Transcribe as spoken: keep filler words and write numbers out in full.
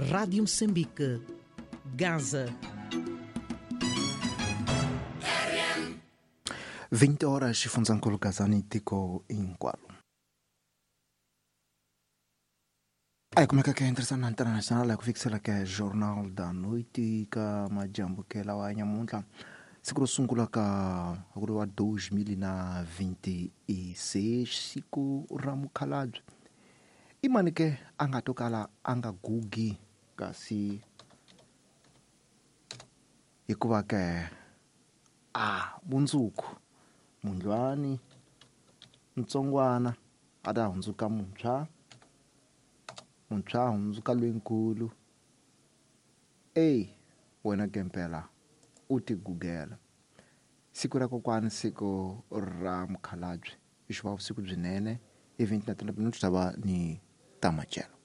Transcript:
Rádio Moçambique, Gaza. vinte horas xifundzankulu Gazani tiko hinkwaro. A hi kumeka ke ntirhisano international ku fikisela ke Jornal da Noite ka madyambu ke lawa ya nyamuntlha siku ro sungula ka ku ri wa dois mil na vinte e seis siku ra mukhalabye i mani ke a nga to kala a nga gugi kasi hikuva ke a mundzuku mundlwani ntsongwana a ta hundzuka muntshwa muntshwa hundzuka lwenkulu ey wena gempela u ti gugela siku ra kokwani siku ra mukhalabye i xiva vusiku byinene i vinte na três minutos tava ni tamachelo.